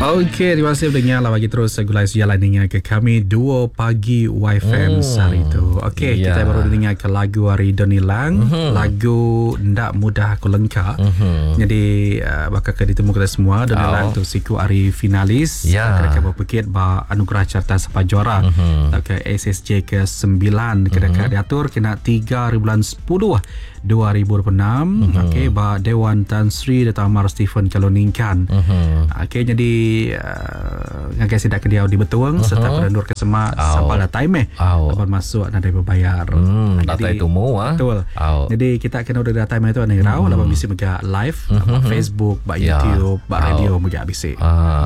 Okey, terima kasih pendengar lah bagi terus gulai sejalan dengar ke kami duo pagi YFM sehari tu. Okey, kita baru dengar ke lagu hari Donny Lang, lagu Ndak Mudah Aku Lengka. Jadi bakal ke ditemu kita semua Donny Lang tu siku hari finalis kena ke berpekit ba anugerah carta sapa juara ke SSJ ke 9 kena ke diatur kena 3 hari bulan 10 2026 okey ba Dewan Tan Sri Dato Amar Stephen Kaloningkan. Okey jadi ngagai sidak ke diau di Betung serta penendur ke semak sampai datai meh laban masuk nadai bebayar. Datai tumu ah. Betul. Jadi kita kena udah datai meh tu anang irau laban bisi mega live ba Facebook, ba YouTube, ba radio mega bisi.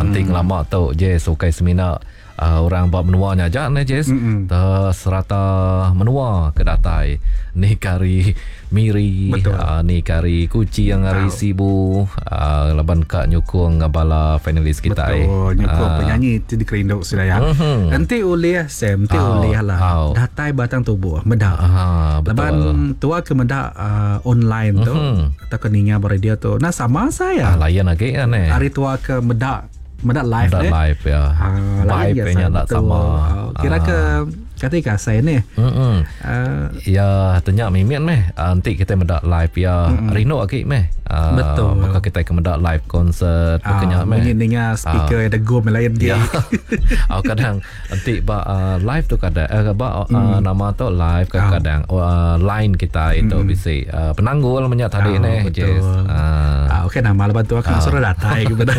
Enti ngelama tu je ukai semina orang ba menua nya aja neh Jess. Te serata menua ke datai ni ke ari Miri, ni ke ari Kuching, ari Sibu laban ka nyukung bala finalis kitai. Betul, nyukung penyanyi ti dikerindu sida iya. Enti ulih Sam, enti ulih lah datai batang tubuh meda. Laban tua ke meda online tu tauka ninga ba radio tu enda sama saya. Lain agi neh. Ari tua ke meda Meda live Meda live ya. Ha, vibe nya enda sama. Kira ke kati ka asai ni. Hmm. Ya tanya mimit meh enti kita meda live ya rindu agi meh. Betul. Baka kita ke meda live concert baka nya meh. Munyi ninga speaker uh, degum lain dia. Ya. kadang enti ba live tu kadang ba nama tu live kadang line kita itu bisi penanggul menya tadi neh. Betul. Ah, okey nama lepas tu aku uh. suruh datai kepada.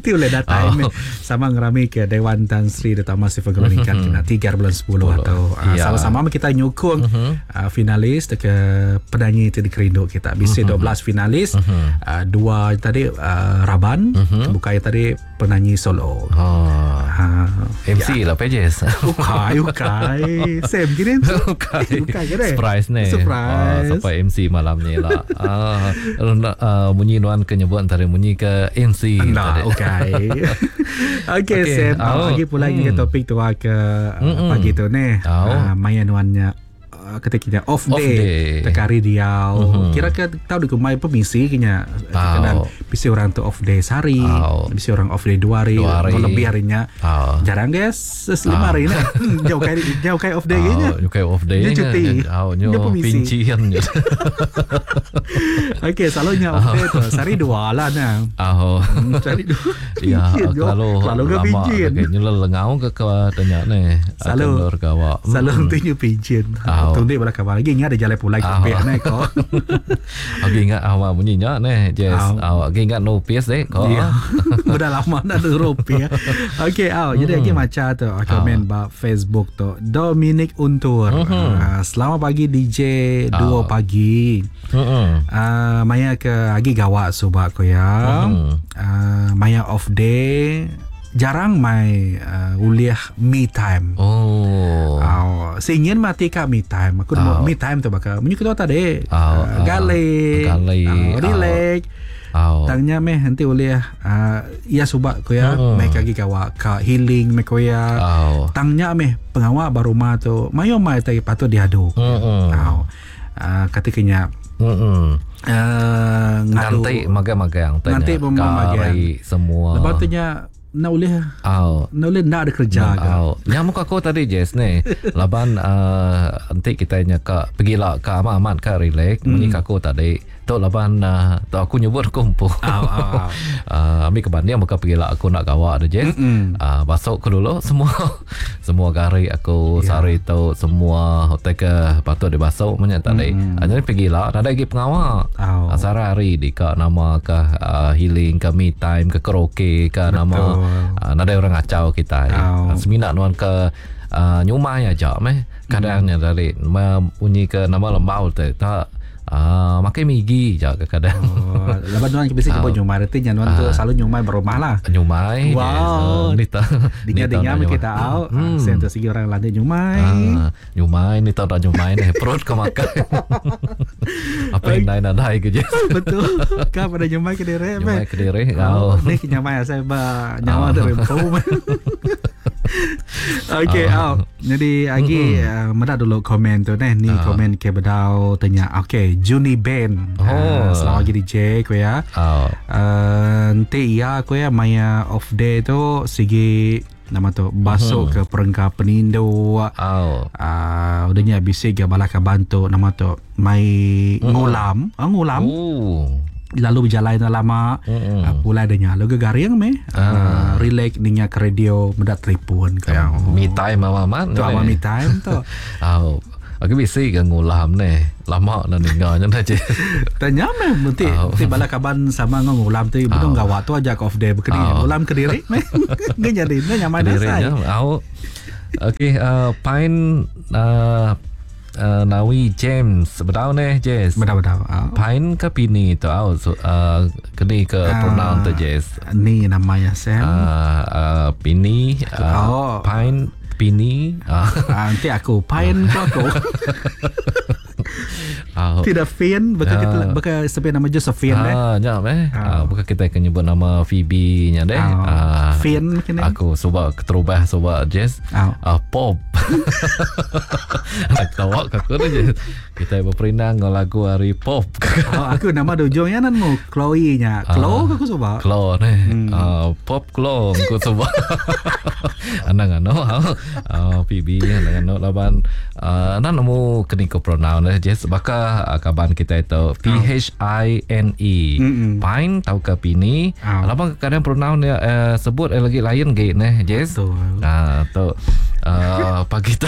Ti boleh datai oh. Sama ngerami ke Dewan Tan Sri Dato' Amar Sifat Kemeningkan kena 3 bulan 10 atau sama-sama kita nyukung finalis ke penyanyi ti dikerindu kita. Bisi 12 finalis, dua tadi raban, bukai tadi penyanyi solo. Oh. Ha. MC ya. lah pages. Ukai, ukai. Sam gini. Ukai. Ukai kene. Surprise ni. Surprise. Oh, sampai MC malam ni lah. Munyi nuan ke nyebut antara munyi ke MC. Anda, ukai. Okey, okay, Sam. Oh. Lagi pula ke topik tua ke pagi tu ni. Oh. Maya nuannya ketika kita off day, off day. Tekari diau. Kira ke tahu di kumai permisi kenya. Kadang bisi orang tu off day sehari, bisi orang off day dua hari, dua hari. lebih harinya. Jarang guys, lima hari ni. Jauh kai jauh kai off day kenya. Jauh kai off day. Dia cuti. Dia permisi. Pincian. Okey, selalunya off day tu sehari dua lah nah. Oh. Sehari dua. Ya, kalau kalau ke pincin. Nyelel lengau ke ke tanya ni. Selalu selalu nanti pincin. Tundik bala kawan lagi ingat ada jalan pulai ke pihak ni ko. Okey ingat awak bunyi nya ni Jess. Awak lagi ingat no PS dek ko. Ya. Sudah lama dah tu rupiah. Okey, aw jadi lagi macam tu komen ba Facebook tu Dominic Untur. Selamat pagi DJ 2 pagi. Maya ke agi gawak subak ko ya. Maya off day jarang mai uliah me time. Oh. Singin mati ka me time. Aku oh. me time tu baka munyi ketua tadi. Gale, relax. Tangnya meh nanti uliah ya subak ko ya mai kagi gawa ka healing meh ko ya. Tangnya meh pengawak ba rumah tu mayo mai tai patut diadu. Kata kenya ngadu nanti magang-magang nanti magang semua. Lepas tu nya nak boleh nak boleh nak ada kerja ke. Nyamuk aku tadi Jess ni laban nanti kita nya ka pergilah ka amat-amat ka relax munyi aku tadi tu laban tu aku nyebut aku empu. Ambil ke banding bukan pergilah aku nak gawak dah Jess. Basuk aku dulu semua semua gari aku sehari tu semua hotel ke patut dibasuh banyak tadi. Jadi pergilah ada lagi pengawak. Sehari hari di ka nama ke healing ke me time ke karaoke ke nama nada orang ngacau kita. Semina nuan ke nyumai aja meh. Kadangnya dari bunyi ke nama lembau tu tak makai migi je kadang. Lepas nuan biasa jumpa nyumai reti nya nuan tu selalu nyumai berumah lah. Nyumai. Wow. Ni tak dengar-dengar kita au. Sen tu segi orang lantik nyumai. Nyumai ni tak nyumai ni perut ke makan. Apa yang lain ada ke je. Betul. Kau pada nyumai ke diri. Nyumai ke diri. Ni nyumai saya ba nyawa tu rempu. Okey, oh. Jadi agi uh, meda dulu komen tu neh. Ni uh. komen ke bedau tanya. Okey, Juni Ben. Oh. Selamat pagi DJ ku ya. Oh. Enti iya ku ya maya off day tu sigi nama tu basuk ke perengka penindu. Oh. Udah nya bisi ga bala kaban tu nama tu mai ngulam, ngulam. Oh. Lalu berjalai enda lama mm-hmm. Pulai dah nya lalu garing meh relax ninga ke radio meda telefon ke. Oh. Me time mama amat tu ama me time tu. Oh. Aku bisi ke ngulam ne. Lama dah ninga nya dah. Tanya meh mesti oh. ti bala kaban sama ngau ngulam ti benung oh. gawa tu aja off day bekeni oh. ngulam ke diri meh. Nge jadi ne nyamai dah sai. Au. Okey Pine Nawi James bedau neh Jess. Bedau bedau. Pine ke pini tu au so, keni ke pronoun tu Jess. Ni nama ya Sam. Pini oh. Pine pini. Nanti aku Pine ko aku. Tidak Finn baka kita baka sepi nama Josephine deh. Nya meh. Bukan kita ke nyebut nama Phoebe nya deh. Finn kene. Aku suba keterubah suba Jess. Pop. Nak tawa ke aku deh. Kita berperindang dengan lagu hari pop. Aku nama di ujung nya nan mu Chloe nya. Chloe aku suba. Chloe ne. Pop Chloe aku suba. Anang anu Phoebe anang anu laban nan nemu keni ko pronoun deh Jess baka kaban kita itu P H I N E Pine tauka Pini. Laban kadang pronoun dia sebut lagi lain ge neh Jess. Tu pagi tu.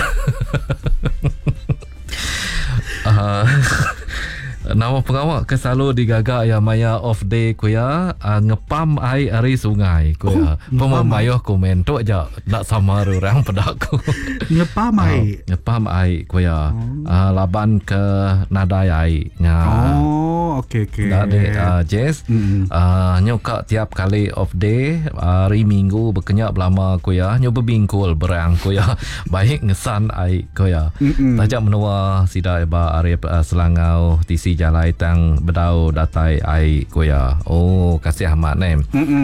Nama pengawa ke selalu digaga ya maya off day ku ya ngepam ai ari sungai ku ya. Pemayuh komen tu aja nak sama orang peda ku. Ngepam ai. Ngepam ai ku ya. Laban ke nadai ai nya. Oh, okey okey. Dak dek Jess. Nyuka tiap kali off day hari Minggu bekenya belama ku ya nyu bebingkul berang ku ya. Baik ngesan ai ku ya. Taja menua sida ba ari Selangau tisi jalai tang bedau datai ai ku ya. Oh kasih amat neh.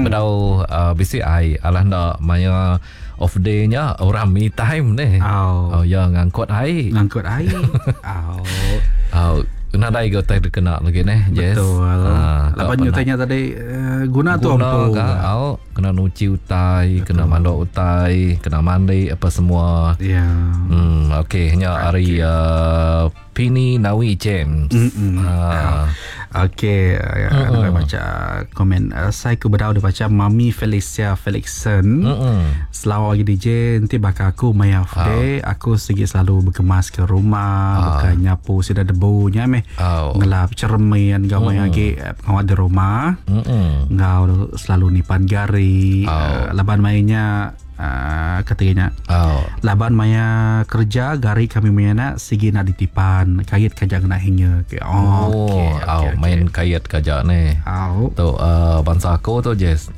Bedau bisi ai alah enda maya off day nya orang me time neh. Oh ya ngangkut ai. Ngangkut ai. Oh. Nadai ga utai dikena lagi neh Jess. Betul. Laban nyu tanya tadi guna tu empu. Guna kena nuci utai, betul. Kena manduk utai, kena mandi apa semua. Ya. Yeah. Okey nya hari Pini Nawi James. Okey, ada baca komen. Saya ku bedau baca Mami Felicia Felixson. Selamat pagi DJ, nanti bakal aku maya off day, aku segi selalu berkemas ke rumah, bukan nyapu sida debunya meh. Ngelap cermin gau maya agi pengawal di rumah. Ngau selalu nipan gari, laban mainnya katanya. Laban maya kerja gari kami maya sigi nak ditipan kait kaja kena hingga. Oh, okay, main kait kaja ni. Tu bangsa aku tu Jess,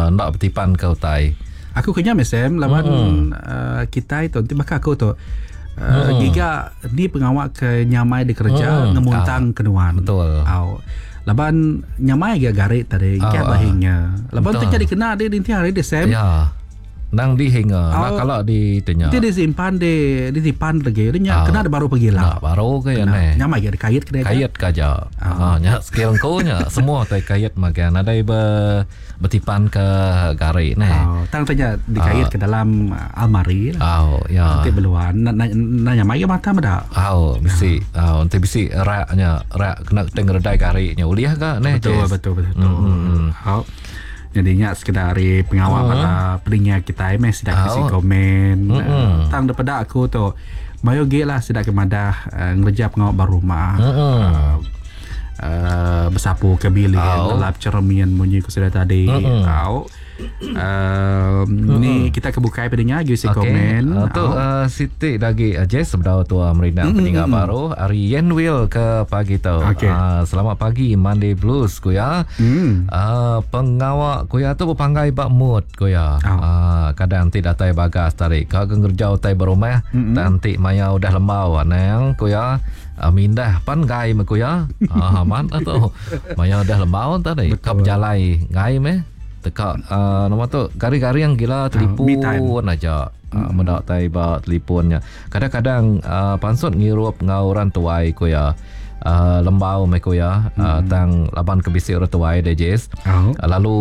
nak bertipan ke utai. Aku kena mesem laban kita itu nanti bakal aku tu giga ni pengawak ke nyamai di kerja ngemuntang kenuan. Betul. Laban nyamai ga gari tadi kia bahingnya. Laban tu jadi kena dia nanti hari dia sem. Ya. Nang dihinga, nak kalau di tanya. Dia disimpan di ditipan lagi. Dia kena ada baru pergi lah. Nak baru ke ya ne. Nyamai ke kait kena. Kait kaja. Nya skill ko nya semua tai kait magan ada bertipan ke gari ne. Tang tanya dikait ke dalam almari lah. Ya. Nanti beluan na nyamai ke mata meda. Bisi. Nanti bisi raknya, rak kena teng redai gari nya uliah ka ne. Betul betul betul. Jadinya sekedar hari pengawal pada peningat kita meh sidak kasi komen. Tang daripada aku tu mayo ge lah sidak ke madah ngerja pengawal baru rumah. Bersapu ke bilik, gelap cermin bunyi ku sudah tadi. Ni kita kebukai pendengar gi komen. Tu Siti lagi Jess sebedau tua merindang pendengar baru hari Yenwil ke pagi tu. Selamat pagi Monday Blues ku ya. Pengawak ku ya tu berpanggai bak mood ku ya. Kadang ti datai bagas tarik ka ngerja utai berumah nanti maya udah lembau anang ku ya. Mindah pan gai me ku ya. Amat tu. Maya udah lembau tadi ka berjalai gai meh. Teka uh, nama tu garing-garing gila telefon uh, aja. Uh, meda tai ba telefonnya. Kadang-kadang uh, pansut ngirup ngau orang tuai ku ya. Uh, lembau meh ku ya. Uh, tang laban ke bisi orang tuai deh Jess. Oh. Uh, lalu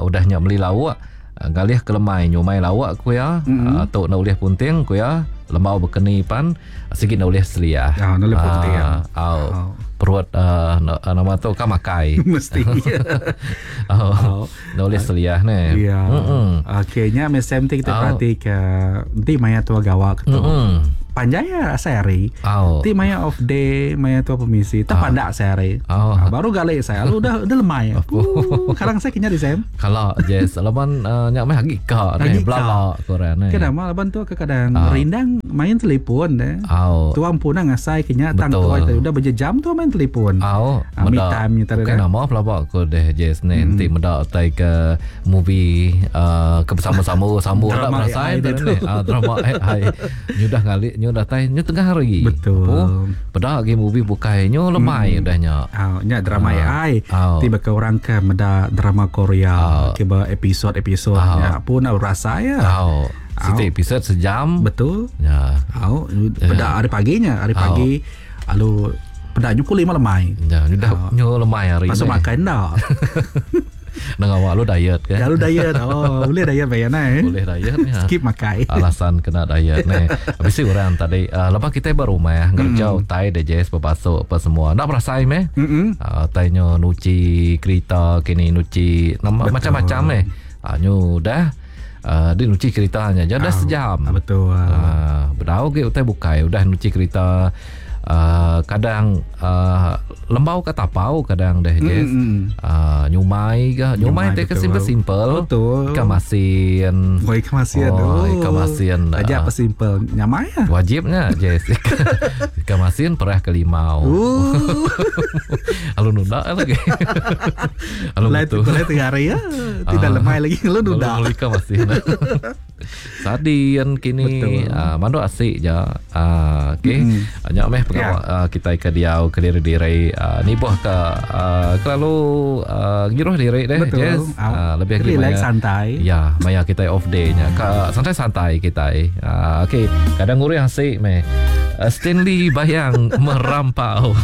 udah nya meli lauk galih ke lemai nyumai lauk ku ya. Mm-hmm. Uh, tu nak ulih punting ku ya. Lembau bekeni pan sigi nak ulih seliah. Ah, nak ulih punting. Uh, au. Oh. Perut uh, nama tu kan makai. Mesti. Oh. Oh. Nak ulih seliah ne. Ya. Okey, nya mesem ti kita oh. perhati ke enti maya tua gawa ke tu. Mm-hmm. Panjai ya sehari. Oh. Ti maya off day, maya tua permisi, tak oh. pandak sehari. Oh. Ha, baru galik saya, lalu udah udah lemai. Oh. Kadang saya kena di sem. Kalau yes, laban uh, nyak meh agi ka ne, belala koran ne. Kenapa laban tu kadang oh. rindang main telefon deh. Oh. Tua pun ngasai kenya tang tua itu udah berjam tu main telefon. Oh. Ha, me time ni tadi. Kenapa pelabak ko deh Jess ne, nanti meda tai ke movie uh, ke bersama-sama sambung tak berasai tu ne. Ah, drama AI. Nyudah ngali nyu datai nyu tengah hari. Betul. Oh, peda lagi movie bukai nyu lemai udah nya. Ah, nya drama AI. Tiba ke orang ke meda drama Korea ke ba episod-episod nya pun rasa ya. Oh. Setiap episod sejam. Betul. Ya. Oh, peda hari paginya, hari pagi lalu peda nyu pukul 5 lemai. Ya, udah nyu lemai hari ni. Pasal makan dah. Nang awak lu diet kan? Lalu diet. Oh, boleh diet bayar nai. Boleh diet ya. Skip makai. Alasan kena diet ni. Habis si orang tadi uh, lepas kita berumah ngerja mm. utai deh Jess berbasuh apa semua. Nak berasai meh? Mm-hmm. Uh, tainya nuci kereta kini nuci nama macam-macam meh. Uh, nyu dah Uh, dia nuci keretanya je dah sejam. Betul. Uh, bedau ke utai bukai udah nuci kereta. Uh, kadang uh, lembau ke tapau kadang deh Jess. Mm-hmm. Uh, nyumai ke nyumai teh ke simple-simple. Betul. Ikan masin. Oh, ikan masin. Oh, ikan masin. Aja apa simple nyamai ya. Wajibnya Jess. Ikan masin perah ke limau. Lalu nunda lagi. Lalu betul. Lain tengah hari ya. Tidak lemai lagi lu nunda. Lalu ikan masin. Sardin kini uh, manduk asik je. Uh, okey. Mm. Nyak meh pengawak yeah. uh, kita ke diau ke diri-diri uh, ni boh ke uh, kelalu uh, ngiruh diri deh. Betul. Yes. Uh, lebih lagi relax santai. Ya, maya kita off day nya. Ka santai-santai kita. Uh, okey, kadang ngurih asik meh. Uh, Stanley Bayang merampau.